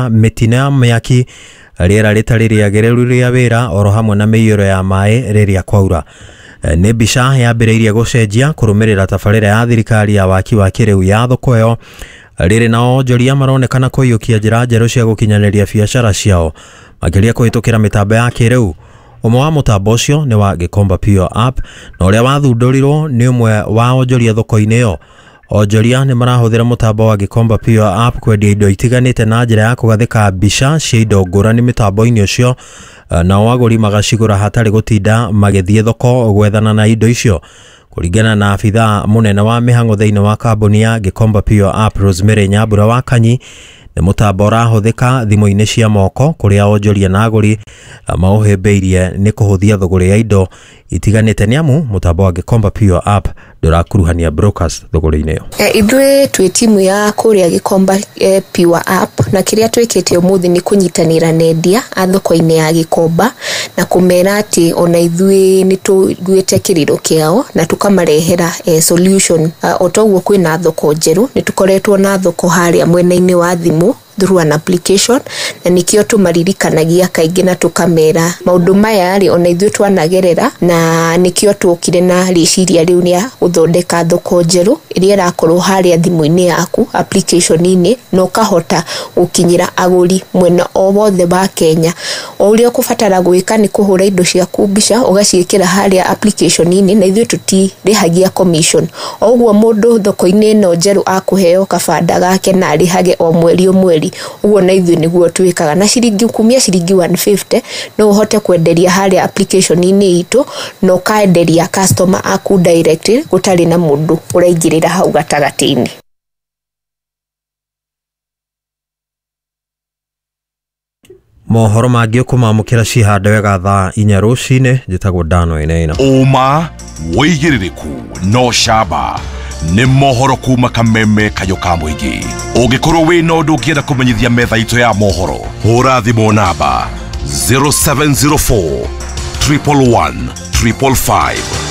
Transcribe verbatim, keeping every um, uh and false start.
Mĩtino ya mĩaki, rĩera rĩtarĩ rĩagĩrĩru rĩa wĩra, oro hamwe na mĩiyũro ya maĩ rĩrĩa kwaura. Nĩ mbica yambĩrĩirie gũcenjia kũrũmĩrĩra tabarĩra ya thirikari ya waki wa kĩrĩu ya thoko ĩyo. Rĩrĩ na onjoria maronekana kũiyũkia njĩra njerũ cia gũkinyanĩria biacara ciao, makĩria kũhĩtũkĩra mĩtambo ya kĩrĩu. Ũmwe wa mũtambo ũcio nĩ wa Gikomba Pure App, na ũrĩa wathundũrirwo nĩ ũmwe wa onjoria thoko-inĩ ĩyo. Onjoria nĩ marahũthĩra mũtambo wa Gikomba Pure App kwendia indo itiganĩte na njĩra ya kũgathĩka mbica cia indo ngũrani mĩtambo-inĩ ũcio, nao agũri magacigũra hatarĩ gũtinda magĩthiĩ thoko gwethana na indo icio. Kũringana na abithaa mũnene wa mĩhang'o thĩinĩ wa kambuni ya Gikomba Pure App, Rosemary Nyambura wa Kanyi, nĩ mũtambo ũrahũthĩka thimũ-inĩ cia moko kũrĩa onjoria na agũri maũhĩmbĩirie nĩ kũhũthia thũgũrĩ ya indo itiganĩte, nĩ amu mũtambo wa Gikomba Pure App ndũrakuruhania brokers thũgũrĩ-inĩ ĩyo. E, ithuĩ twĩ timu ya kũrĩa Gikomba e, Pure App, na kĩrĩa twĩkĩte ũmũthĩ nĩ kũnyitanĩra na endia a thoko-inĩ ya Gikomba na kũmera atĩ ona ithuĩ nĩ tũiguĩte kĩrĩro kĩao na tũkamarehera e, solution. O toguo kwĩna thoko njerũ, nĩ tũkoretwo na thoko harĩa mwena-inĩ wa thimũ through an application, na nikio tũmaririkanagia kaingĩ na tũkamera maũndũ maya rĩ ona ithuĩ twanagerera, na nikio tuokire na rĩciria rĩu rĩa gũthondeka thoko njerũ ĩrĩa ĩrakorwo harĩa thimũ-inĩ yaku application-inĩ, na ũkahota gũkinyĩra agũri mwena o wothe wa Kenya. O ũrĩa ũkũbatara gwĩka nĩ kũhũra indo ciaku mbica ũgaciĩkĩra harĩa application-inĩ, na ithuĩ tũtirĩhagia commission. O ũguo mũndũ thoko-inĩ ĩno njerũ akũheo kabanda gake na arĩhage o mweri o mweri, ũguo na ithuĩ nĩguo twĩkaga. Na ciringi kumia ciringi one fifty no ũhote kwenderia harĩa application-inĩ itũ na ũkaenderia customer aku direct gũtarĩ na mũndũ ũraingĩrĩra hau gatagatĩ-inĩ. Mohoro mangĩ ũkũmamũkĩra cihande wega thaa inya rũcinĩ. Njĩtagwo Dano Wainaina. Ũma wĩigĩrĩrĩku no camba nĩ mohoro kuma kameme kayũ ka mũingĩ. Ũngĩkorwo wĩna ũndũ ũngĩenda kũmenyithia metha itũ ya mohoro, hũra thimũ namba zero seven zero four triple one triple five.